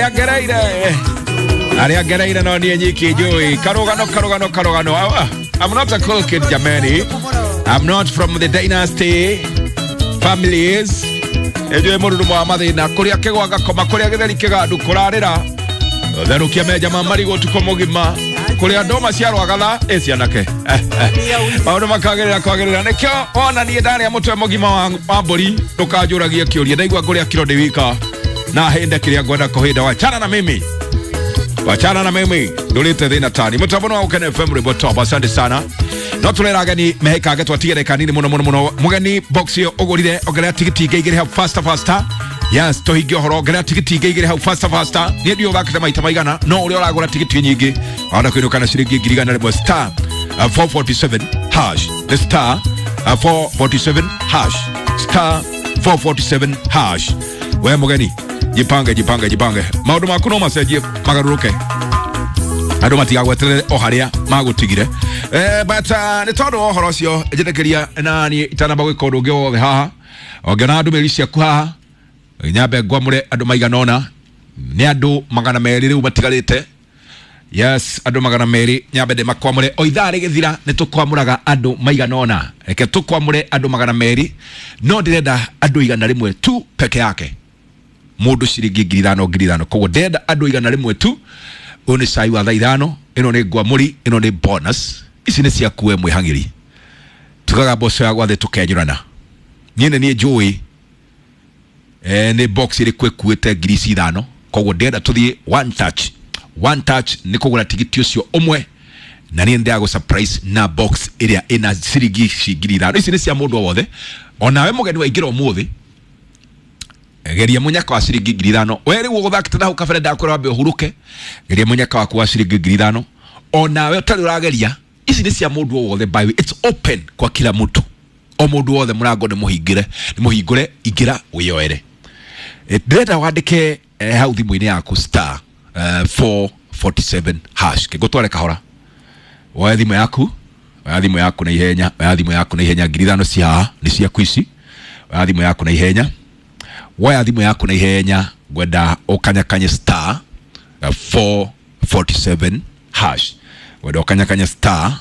Harĩa ngereire, harĩa ngereire no niĩ nyiki njũĩ. Karũgano, karũgano, karũgano. I'm not a cool kid, jameni. I'm not from the dynasty families. Njũĩ mũrurumo wa mathĩna, kũrĩa kĩgwa ngakoma, kũrĩa gĩtheri kĩgandu kũrarĩra, therũkia menja ma marigũ ũtukũ mũgima, kũrĩa ndũma cia rwagatha ĩ cianake, maũndũ makagĩrĩra kwagĩrĩra. Nĩkĩo wona niĩ ndarĩa mũtwe mũgima wa mbũri, ndũkanjũragie kĩũria. Ndaigua ngũrĩa kiro ndĩ wika na hĩnde kĩrĩa ngwenda kũhĩnda. Wachana na mimi, wachana na mimi, ndũrĩte thĩna tani. Mũtambo wa Gũkena FM, rwĩmbo top. Asante sana. No tũrera ageni mehĩkange, twatigere kanini mũno mũno mũno. Mũgeni, box ĩyo ũgũrire, ongerera tigiti ingĩ igĩrĩ hau faster faster. Yes, tũhingie ũhoro. Ongerera tigiti ingĩ igĩrĩ hau faster faster. Niĩ ndiũ ũthakĩte maita maigana, no ũrĩa ũragũra tigiti nyingĩ wahota kũinũka na ciringi 100,100. Star 447 hash, the star 447 hash, star 447 hash. We mũgeni, jipange, jipange, jipange. Maũndũ maku no macenjie, magarũrũke, andå matigagweterere o harĩa magũtigire. But nĩ tondũ wa ũhoro ũcio, njĩtĩkĩria na niĩ itanamba gwĩka ũndũ ũngĩ wothe haha, ongena ndũmĩrĩri ciaku haha, nyambe ngwamũre andũ maigana ũna. Nĩ andũ 200 rĩu matigarĩte. Yes, andũ 200 nyambe ndĩmakwamũre. O ithaa rĩgĩthira nĩ tũkwamũraga andũ maigana ũna. Reke tũkwamũre andũ 200, no ndĩrenda andũ 100 tu peke yake, mũndũ ciringi 5,000, 5,000. Koguo ndĩrenda andũ 100 tu. Ũyũ nĩ cai wa thaa 5. Ĩno nĩ ngwamũri, ĩno nĩ bonus. Ici nĩ ciaku we mwĩhang'ĩri. Tugaga mboco ya gwathĩ tũkenyũrana. Niĩ nĩ niĩ njũĩ nĩ box ĩrĩkũ ĩkuĩte ngiri ici 5. Koguo ndĩrenda tũthiĩ one touch. One touch nĩ kũgũra tigiti ũcio ũmwe, na niĩ ndĩragũ surprise na box ĩrĩa ĩna ciringi ici 5,000. Ici nĩ cia mũndũ o wothe, onawe mũgeni waingĩra ũmũthĩ, geria mũnyaka wa ciringi 5,000. We rĩu ũgũthakĩte na hau kabere, ndakwĩra wambe ũhurũke. Geria mũnyaka waku wa ciringi 5,000. Onawe ũtarĩ ũrageria, ici nĩ cia mũndũ o wothe. By the way, it's open kwa kila mtu, o mũndũ wothe. Mũrango nĩ mũhingĩre, nĩ mũhingũre, ingĩra wĩyoere. Ndĩrenda wandĩke hau thimũ-inĩ yaku star 447 hash. Kĩngũtware kahora. Woe thimũ yaku, oya thimũ yaku na ihenya, oya thimũ yaku na ihenya. 5,000 ci haha, nĩ ciaku ici. Oya thimũ yaku na ihenya, woya thimũ yaku na ihenya. Ngwenda ũkanyakanye star 447 hash. Ngwenda ũkanyakanye star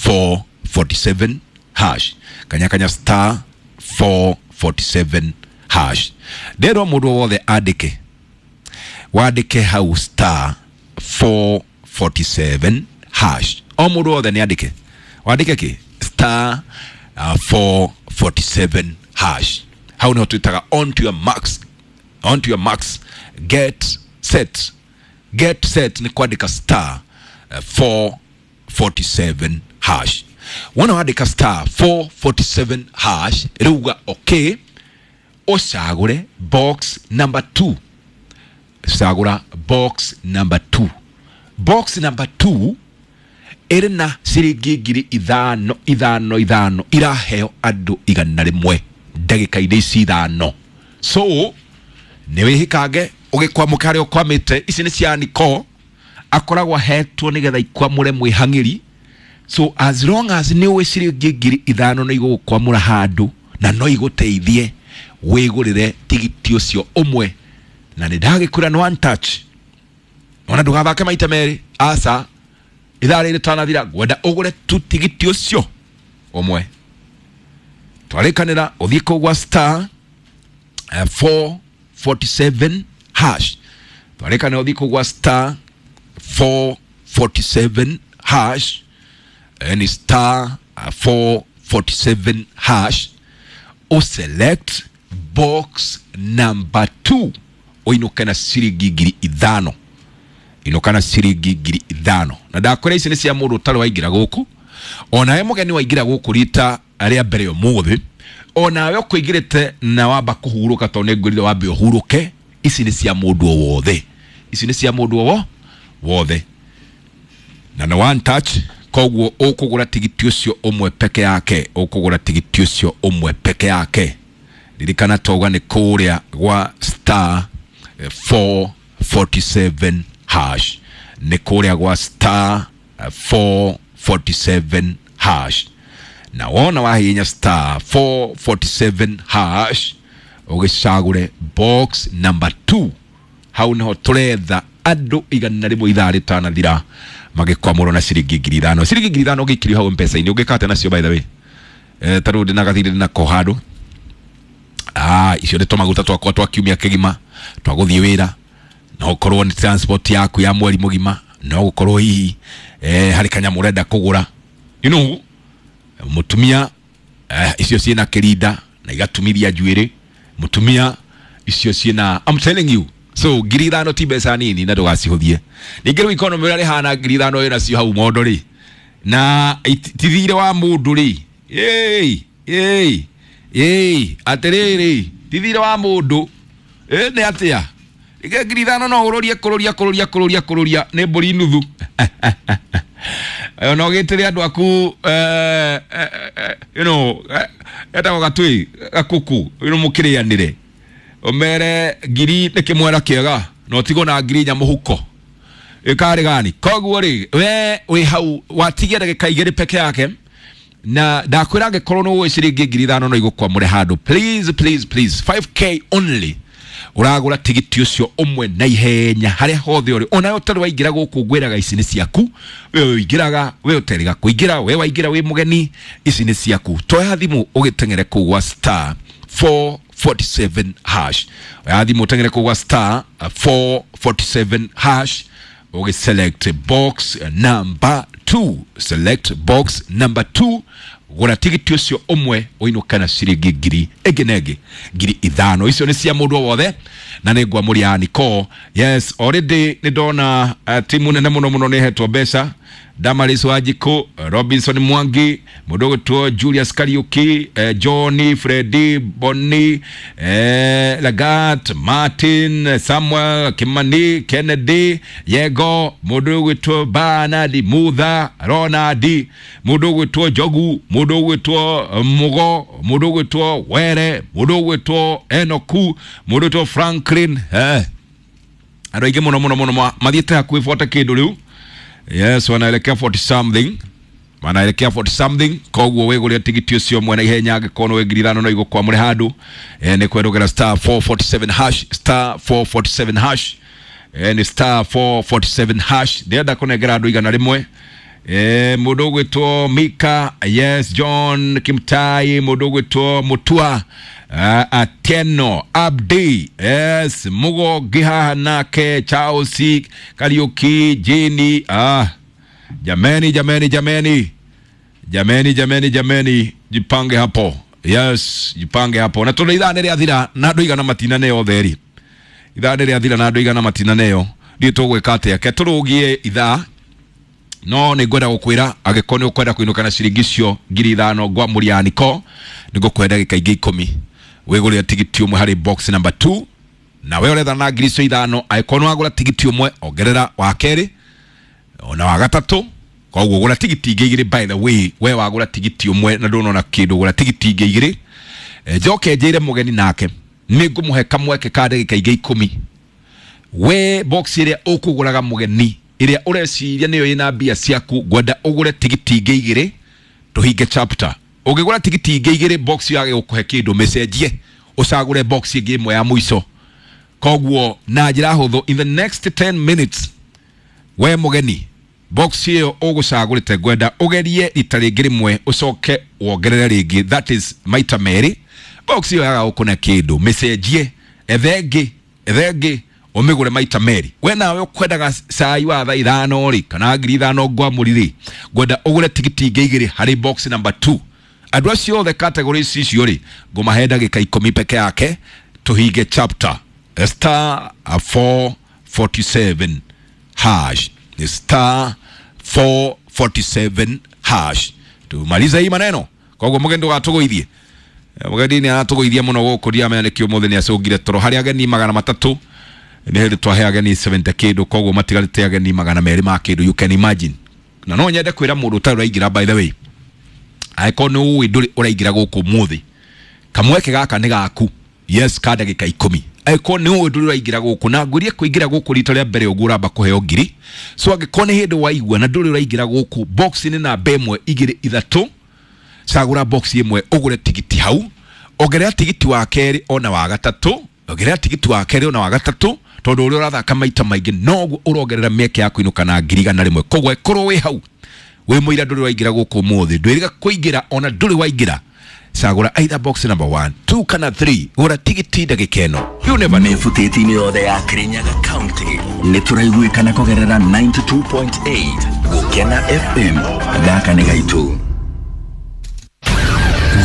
447 hash. Kanyakanya star 447 hash. Ndĩrwo mũndũ wothe andĩke, wandĩke hau star 447 hash. O mũndũ wothe nĩ andĩke. Wandĩke kĩ? Star 447 hash. Hau nĩho twĩtaga on to your marks, on to your marks, get set. Get set nĩ kwandĩka star 447 hash. Wona wandĩka star 447 hash, rĩu uga okay, ũcagũre box number 2. Cagũra box number 2. Box number 2 ĩrĩ na ciringi 5,000, 5, 5, iraheo andũ 100 ndagĩka-inĩ ici 5. So nĩ wĩhĩkange ũgĩkwamũka harĩa ũkwamĩte. Ici nĩ cia Niko, akoragwo ahetwo nĩgetha ikwamũre mwĩhang'ĩri. So as long as nĩ ũĩ ciringi 5,000 nĩ igũgũkwamũra handũ na no igũteithie wĩgũrĩre tigiti ũcio ũmwe, na nĩ ndagĩkwĩra nĩ one touch, ona ndũgathake maita merĩ. Aca, ithaa rĩrĩ tanathira ngwenda ũgũre tu tigiti ũcio ũmwe. Twarĩkanĩra ũthiĩ kũu gwa star 447 hash. Twarĩkanĩra ũthiĩ kũu gwa star 447 hash. Ni star 447 hash, uselect box number 2, ũinũke na ciringi 5,000. Inũka na ciringi 5,000. Na ndakwĩra ici nĩ cia mũndũ ũtarĩ waingĩra gũkũ, onawe mũgeni waingĩra gũkũ rita rĩa mbere ũmũthĩ, onawe ũkũingĩrĩte na wamba kũhurũka, tondũ nĩ ngwĩrire wambe ũhurũke. Ici nĩ cia mũndũ o wothe, ici nĩ cia mũndũ o wothe, na nĩ one touch. Koguo ũkũgũra tigiti ũcio ũmwe peke yake, ũkũgũra tigiti ũcio ũmwe peke yake. Ririkana twauga nĩ kũrĩa gwa star 447 hash, nĩ kũrĩa gwa star 447 hash. Na wona wahihinya star 447 hash, ũgĩcagũre box number 2. Hau niho turetha andu 100 ithaa ritanathira magikwamũrwo na ciringi 5,000. Ciringi 5,000 ũngĩikirio hau mpesa-inĩ ũngĩkate nacio by the way. Tarĩu ndĩna gathirĩ ndĩnako handũ. Icio nĩ tũmaguta twakwa twa kiumia kĩgima twa gũthiĩ wĩra, no ũkorwo nĩ transport yaku ya mweri mũgima, no gũkorwo hihi harĩ kanyamũ ũrenda kũgũra, you know, mũtumia icio ciĩna kĩrinda na igatumithia njuĩrĩ, mũtumia icio ciĩna, I'm telling you. So 5,000 ti mbeca nini na ndũgacihũthie. Ningĩ rĩu economy ũrĩa rĩhana 5,000 wĩnacio hau mondo rĩ, na ti thirĩ wa mũndũ rĩ, ĩĩ ĩĩ ĩĩ atĩrĩrĩ, ti thirĩ wa mũndũ nĩ atĩa? Rĩngĩ 5,000 no ũrũrie kũrũria kũrũria kũrũria kũrũria nĩ mbũri nuthu. No gĩtĩre andũ aku you know, etagwo gatui gakuku, you know, mũkĩrĩanĩre ũmere ngiri nĩ kĩmwera kĩega na ũtigwo na 4,000 mũhuko ĩkarĩ gani. Koguo rĩ, we wĩ hau watigia ndagĩka 2 peke yake, na ndakwĩra angĩkorwo nĩ ũĩ ciringi 5,000 no igũkwamũre handũ, please please please, 5K only ũragũra tigiti ũcio ũmwe na ihenya harĩa hothe ũrĩ. Ona ũtarĩ waingĩra gũkũ ngwĩraga ici nĩ ciaku, we ũingĩraga, we ũterĩga kũingĩra, we waingĩra wĩ mũgeni, ici nĩ ciaku. Toya thimũ ũgĩteng'ere kũu gwa star 447 hash. Oya thimũ ũteng'ere kũu gwa star 447 hash, ũgĩ select box number 2, select box number 2, gũra tigiti ũcio ũmwe ũinũke na ciringi ngiri ĩngĩ na ĩngĩ 5,000. Icio nĩ cia mũndũ o wothe na nĩ ngwamũria Nicole. Yes, already nĩ ndona timu nene mũno mũno nĩ ĩhetwo mbeca. Damaris Wanjikũ, Robinson Mwangi, mũndũ ũgwĩtwo Julius Kariuki, Johnny, Freddy, Bonny, Lagat, Martin, Samuel, Kimani, Kennedy, Yego, mũndũ ũgwĩtwo Bernard Mutha, Ronald, mũndũ ũgwĩtwo Njogu, mũndũ ũgwĩtwo Mugo, mũndũ ũgwĩtwo Were, mũndũ ũgwĩtwo Enoku, mũndũ ũgwĩtwo Franklin. Andũ aingĩ mũno mũno mũno mathiĩte hakuhĩ 40 kĩndũ rĩu. Yes, wanaelekea 40 something, wanaelekea 40 something. Koguo wĩgũrĩre tigiti ũcio mwena ihenya angĩkorwo nĩ 5,000 no igũkwamũre handũ. Nĩ kwerũgera star 447 hash, star 447 hash, nĩ star 447 hash. Ndĩrenda kũnengera andũ 100. Mũndũ ũgwĩtwo Mika, yes, John Kimtai, mũndũ ũgwĩtwo Mutua, Atieno, Abdi, yes, Mugo Gihaha nake, Charles Kariuki, Jini. Jameni jameni jameni jameni jameni jameni, jipange hapo. Yes, jipange hapo. Na tondũ ithaa nĩ rĩathira na andũ igana matinaneo theri, ithaa nĩ rĩathira na andũ igana matinaneo, ndiũ tũgwĩka atĩa? Ke tũrũgie ithaa, no nĩ ngwenda gũkwĩra angĩkorwo nĩ ũkwenda kũinũka na ciringi icio 5,000 ngwamũria Nicole, nĩ ngũkũhe ndagĩka ingĩ 10 wĩgũrĩre tigiti ũmwe harĩ box number 2, na we ũretha na 5,000 angĩkorwo nĩ wagũra tigiti ũmwe ongerera wa kerĩ ona wa gatatũ. Koguo gũra tigiti ingĩ 2. By the way, we wagũra tigiti ũmwe na ndũnona kĩndũ, gũra tigiti ingĩ 2. Njoke njĩre mũgeni nake nĩ ngũmũhe kamweke ka ndagĩka ingĩ 10. We box ĩrĩa ũkũgũraga mũgeni, ĩrĩa ũreciria nĩyo ĩna mbia ciaku, ngwenda ũgũre tigiti ingĩ 2 tũhinge chapter. Ũngĩgũra tigiti ingĩ 2 box yage gũkũhe kĩndũ, mĩcenjie ũcagũre box ĩngĩ ĩmwe ya mũico. Koguo na njĩra hũthũ, in the next 10 minutes we mũgeni box ĩyo ũgũcagũrĩte ngwenda ũgerie rita rĩngĩ rĩmwe ũcoke wongerere rĩngĩ, that is maita merĩ. Box ĩyo yaga gũkũne kĩndũ, mĩcenjie, ethe ĩngĩ, ethe ĩngĩ, ũmĩgũre maita merĩ. We nawe ũkwendaga cai wa thaa 5 rĩ, kana 5,000 ngwamũri rĩ, ngwenda ũgũre tigiti ingĩ 2 harĩ box number 2. Andũ acio othe category icio rĩ, ngũmahe ndagĩka 10 peke yake tũhinge chapter. Star 447 hash, star 447 hash. Tumalize hii maneno. Koguo mũgeni ndũgatũgũithie. Mũgeni nĩ aratũgũithia mũno gũkũ, ndiramenya nĩkĩ ũmũthĩ nĩ acũngire toro. Harĩ ageni 300 nĩ hĩndĩ twahe ageni 70 kĩndũ, koguo matigarĩte ageni 200 ma kĩndũ, you can imagine. Na no nyende kwĩra mũndũ ũtarĩ ũraingĩra, by the way, angĩkorwo nĩ ũĩ ndũrĩ ũraingĩra gũkũ ũmũthĩ, kamweke gaka nĩ gaku. Yes, ka ndagĩka 10. Angĩkorwo nĩ ũĩ ndũrĩ ũraingĩra gũkũ, na ngwĩrie kũingĩra gũkũ rita rĩa mbere ũguo ũramba kũheo 1,000. So angĩkorwo nĩ hĩndĩ waigua na ndũrĩ ũraingĩra gũkũ, box nĩ namba 1 2 3, cagũra box ĩmwe ũgũre tigiti hau, ongerera tigiti wa kerĩ ona wa gatatũ, ongerera tigiti wa kerĩ ona wa gatatũ, Tondu uria urathaka maita maingi noguo urongerera mieke ya kuinuka na 100,000. Koguo ikorwo wi hau wi muira nduri waingira guku muthi, ndwiriga kuingira ona nduri waingira. Cagura either box number 1, 2 kana 3, gura tigiti ndagika ĩno. You never know. Mĩbutĩti-inĩ yothe ya Kirinyaga County nĩ tũraiguĩkana kũgerera 92.8 Gũkena FM. Gaka nĩ gaitũ.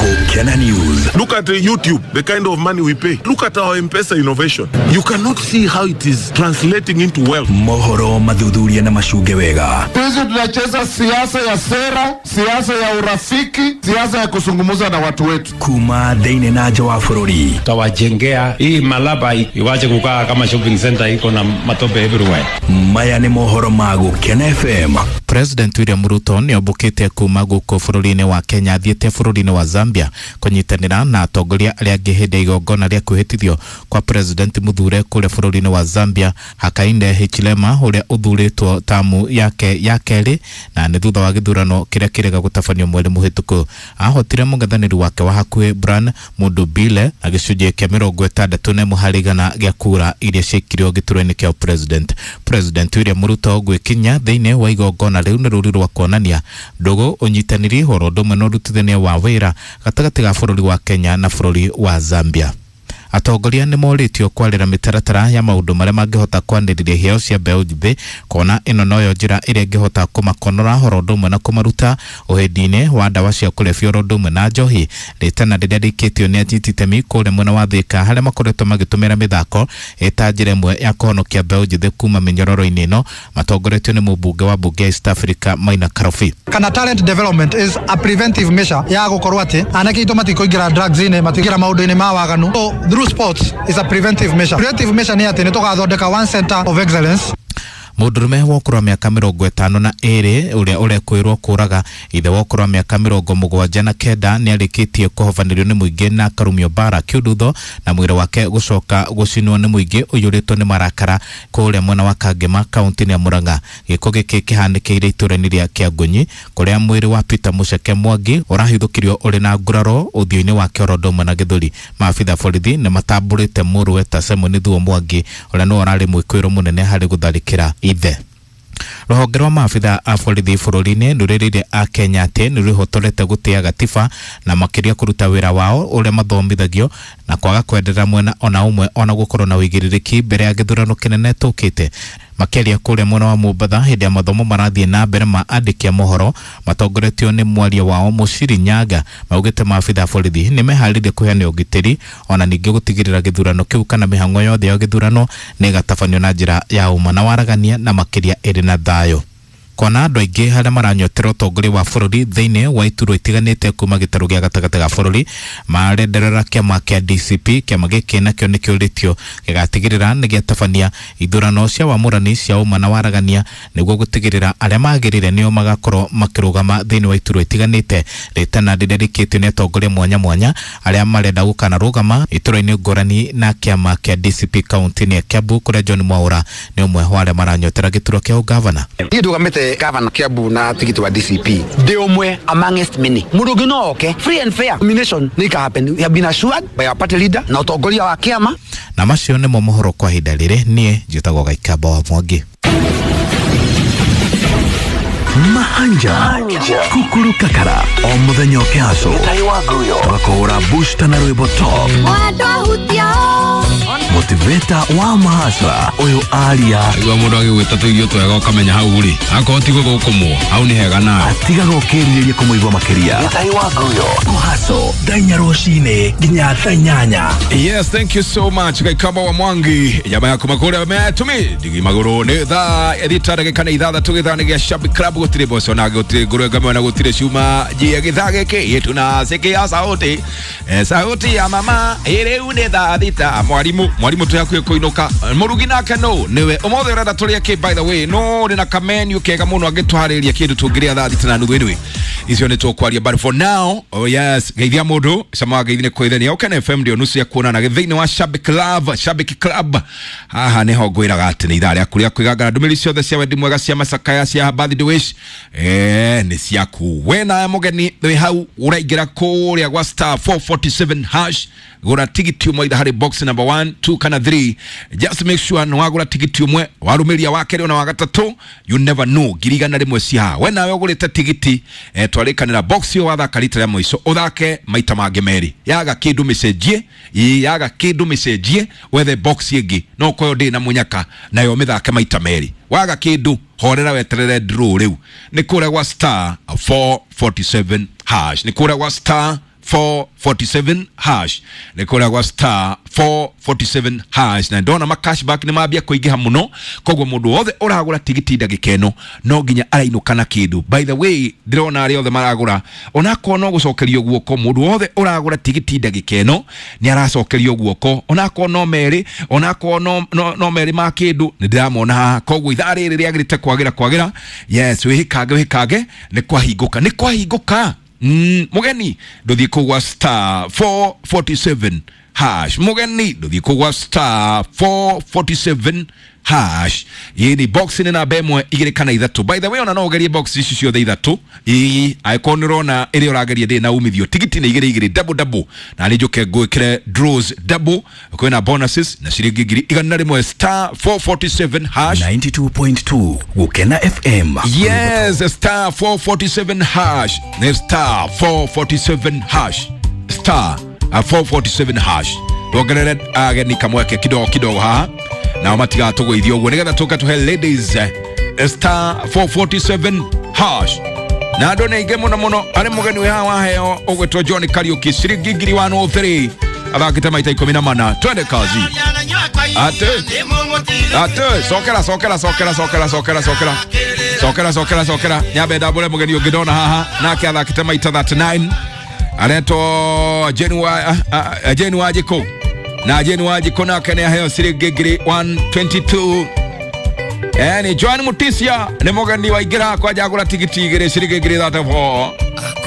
Gũkena News. Look at YouTube, the kind of money we pay. Look at our M-Pesa innovation. You cannot see how it is translating into wealth. Mohoro mathuthuria na macunge wega. Sisi tunacheza siasa ya sera, siasa ya urafiki, siasa ya kuzungumza na watu wetu. Kuma thĩinĩ na nja wa bũrũri. Tutawajengea hii Malaba iwache kukaa kama shopping center iko na matope everywhere. Maya nĩ mohoro ma Gũkena FM. President William Ruto nĩ ombũkĩte kuma gũkũ bũrũri-inĩ wa Kenya athiĩte bũrũri-inĩ wa Zambia kũnyitanĩra na atongoria arĩa angĩ hĩndĩ ya igongona rĩa kwĩhĩtithio kwa President mũthure kũrĩa bũrũri-inĩ wa Zambia Hakainde Hichilema ũrĩa ũthurĩtwo tamu yake ya kerĩ na nĩ thutha wa gĩthurano kĩrĩa kĩrega gũtabanio mweri mũhĩtũku. Ahotire mũng'ethanĩri wake wa hakuhĩ Brian Mundubile na gĩcunjĩ kĩa 61 harĩ igana gĩa kura iria ciaikirio gĩturwa-inĩ kĩa President. President William Ruto gwĩkinya thĩinĩ wa igongona rĩu nĩ rũri rwa kuonania ndũgũ, ũnyitanĩri, oro ũndũ ũmwe na ũrutithania wa wĩra gatagatĩ ga bũrũri wa Kenya na bũrũri wa Zambia. Atongoria nĩ morĩtio kwarĩra mĩtaratara ya maũndũ marĩa mangĩhota kwanĩrĩria iheo cia mbeũ njĩthĩ kuona ĩno noyo njĩra ĩrĩa ĩngĩhota kũmakonora oro ũndũ ũmwe na kũmaruta ũhĩndi-inĩ wa ndawa cia kũrebia oro ũndũ ũmwe na njohi. Rĩtana rĩrĩa rĩikĩtio nĩ anyiti itemi kũrĩa mwena wa Thika harĩa makoretwo magĩtũmĩra mĩthako ĩta njĩra ĩmwe ya kũhonokia mbeũ njĩthĩ kuma mĩnyororo-inĩ ĩno matongoretio nĩ mũmbunge wa mbunge ya East Africa Maina Karobi. Kana talent development is a preventive measure ya gũkorwo atĩ anake aitũ matikũingĩra drugs-inĩ, matikũingĩra maũndũ-inĩ ma waganu. So, through sports is a preventive measure. Preventive measure nĩ atĩ nĩ tũgathondeka one center of excellence. Mũndũrũme wa ũkũrũ wa mĩaka 52 ũrĩa ũrekwĩrwo kũraga ithe wa ũkũrũ wa mĩaka 79 nĩ arĩkĩtie kũhobanĩrio nĩ mũingĩ na akarumio mbara kĩũndutho na mwĩrĩ wake gũcoka gũcinwo nĩ mũingĩ ũiyũrĩtwo nĩ marakara kũrĩa mwena wa Kangema kaunti-inĩ ya Murang'a. Gĩko gĩkĩ kĩhanĩkĩire itũũra-inĩ rĩa Kĩangunyi kũrĩa mwĩrĩ wa Peter Mũceke Mwangi ũrahithũkirio ũrĩ na nguraro ũthiũ-inĩ wake oro ũndũ ũmwe na gĩthũri. Maabitha borithi nĩ matambũrĩte mũrũwe ta Simon Thuo Mwangi ũrĩa nĩwe ũrarĩ mwĩkũĩrwo mũnene harĩ gũtharĩkĩra ithe. Rũhonge rwa maabitha a borithi bũrũri-inĩ rũrĩrĩire a Kenya atĩ nĩ rwĩhotorete gũtĩa gatiba na makĩria kũruta wĩra wao ũrĩa mathomithagio na kwaga kwenderera mwena ona ũmwe ona gũkorwo na ũigĩrĩrĩki mbere ya gĩthurano kĩnene tũkĩte. Makĩaria kũrĩa mwena wa Mombatha hĩndĩ ya mathomo marathiĩ na mbere ma andĩki a mohoro matongoretio nĩ mwaria wao Mũciri Nyaga maugĩte maabitha a borithi nĩ meharĩirie kũheana ũgitĩri ona ningĩ gũtigĩrĩra gĩthurano kĩu kana mĩhang'o yothe ya gĩthurano nĩ ĩgatabanio na njĩra ya ũma na waragania na makĩria ĩrĩ na thayũ. Kona andũ aingĩ harĩa maranyotera ũtongoria wa bũrũri thĩinĩ wa iturwa itiganĩte kuma gĩtarũ gĩa gatagatĩ ga bũrũri marenderera kĩama kĩa DCP. Kĩama gĩkĩ nakĩo nĩ kĩũrĩtio gĩgatigĩrĩra nĩ gĩatabania ithurano cia wamũrani cia ũma na waragania nĩguo gũtigĩrĩra arĩa magĩrĩire nĩo magakorwo makĩrũgama thĩinĩ wa iturwa itiganĩte. Rĩtana rĩrĩa rĩkĩtio nĩ atongoria mwanya mwanya arĩa marenda gũkanarũgama iturwa-inĩ ngũrani na kĩama kĩa DCP kaunti-inĩ ya Kiambu kũrĩa John Mwaura nĩ ũmwe wa arĩa maranyotera gĩturwa kĩa ũgavana. Niĩ ndũgamĩte gavana Kiambu na tigiti wa DCP ndi umwe amongst many. Mundu ungi no oke free and fair nomination ni ka happen. We have been assured by our party leader na utongoria wa kiama. Na macio nĩmo mohoro kwa ihinda rĩrĩ. Niĩ njĩtagwo Gaikamba wa Mwangi. Mahanja Kukuru Kakara o muthenya ũkĩhacwo tũgakũhũra booster na rwĩmbo top motivator wa mahasra ũyũ aria Igua mũndũ agĩgwĩta tũirio twega ũkamenya hau rĩ akorwo ti gũgũkũmwo hau nĩ hega nawe atigaga ũkĩrirĩria kũmũigua makĩria kũhaco thaa inya rũcinĩ nginya thaa inyanya. Yes, thank you so much Gaikamba wa Mwangi. Jamaa yako makore ametumi digi maguru ni thaa thita ndagĩka nĩ ithathatũ gĩthaa nĩ gĩa Shabik Club gũtirĩ mboco na gũtirĩ ngũrwe ngame na gũtirĩ cuma njie gĩthaa gĩkĩ yetu na sikia sauti sauti ya mama rĩu nĩ thaa thita. Mwarimu twĩ hakuhĩ kũinũka mũrugi nake no nĩwe ũmũthĩ ũrenda tũrĩe kĩ by the way no ndĩ na kamenu kega mũno angĩtũharĩria kĩndũ tũngĩrĩa thaa thita na nuthu. Anyway, Icio nĩ tũkwaria, but for now, oh yes, geithia mũndũ cama wa geithi nĩ kwĩthenia. Ũkene FM ndio nusu ya kuonana thĩinĩ wa Shabik Love, Shabik Club. Haha nĩho ngwĩraga atĩ nĩ ithaa rĩaku rĩa kwĩgangara. Ndũmĩrĩri ciothe cia wendi mwega, cia macakaya, cia birthday wish, nĩ ciaku. We nawe mũgeni wĩ hau ũraingĩra kũrĩa gwa star 447 hash, gũra tigiti ũmwe either harĩ box number 1, 2 kana 3. Just make sure nĩ wagũra tigiti ũmwe, warũmĩria wa kerĩ ona wa gatatũ, you never know, 100,000 ci haha. We nawe ũgũrĩte tigiti, twarĩkanĩra box ĩyo wathaka rita rĩa mũico, ũthake maita mangĩ merĩ. Yaga kĩndũ mĩcenjie, ĩ yaga kĩndũ mĩcenjie, wethe box ĩngĩ no koyo ndĩ na mũnyaka nayo mĩthake maita merĩ. Waga kĩndũ, horera weterere draw. Rĩu nĩ kũrĩa gwa star 447 hash, nĩ kũrĩa gwa star 447 hash, nĩ kũrĩa gwa star 447 hash. Na ndona ma cashback nĩ mambia kũingĩha mũno, koguo mũndũ wothe ũragũra tigiti ndagĩka ĩno no nginya arainũka na kĩndũ. By the way, ndĩrona arĩa othe maragũra, onakorwo no gũcokerio guoko, mũndũ wothe ũragũra tigiti ndagĩka ĩno nĩ aracokerio guoko, onakorwo no merĩ, onakorwo no merĩ ma kĩndũ, nĩ ndĩramona haha. Koguo ithaa rĩrĩ rĩagĩrĩte kwagĩra kwagĩra. Yes, wĩhĩkange wĩhĩkange, nĩ kwahingũka, nĩ kwahingũka. Mũgeni ndũthiĩ kũgwa star 447 hash, mũgeni ndũthiĩ kũgwa star 447 hash. Ĩ ni box nĩ namba ĩmwe, igĩrĩ kana ithatũ. By the way, ona no ũgerie box ici ciothe ithatũ, ĩ angĩkorwo nĩ ũrona ĩrĩa ũrageria ndĩrĩ na umithio. Tigiti nĩ igĩrĩ igĩrĩ, double double, na nĩ njũke ngwĩkĩre draws double, kwĩna bonuses na ciringi 100,000, star 447 hash. 92.2 Gukena FM. Yes, star 447 hash. Nĩ star 447 hash. Star 447 hash. Tuongerere ageni kamweke kidogo kidogo haha nao matigatũgũithia ũguo nĩgetha tũke tũhe ladies, star 447 hash. Na andũ nĩ aingĩ mũno mũno. Arĩ mũgeni wĩ haha waheo ũgwĩtwo John Kariũki, ciringi 1,003, athakĩte maita 14. Twende kazi. Ate ate, cokera cokera cokera cokera cokera cokera cokera cokera cokera, nyambe ndambũre mũgeni ũngĩ ndona haha, nake athakĩte maita 39, aretwo Jane Wanjikũ, na Jane Wanjikũ nake nĩ aheo ciringi 1,122. Ni Joan Mutisia nĩ mũgeni waingĩra kwanja agũra tigiti igĩrĩ, ciringi 1,034,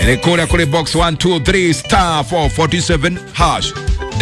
nĩ kũrĩa kũrĩ box 1, 2, 3, star 447 hash.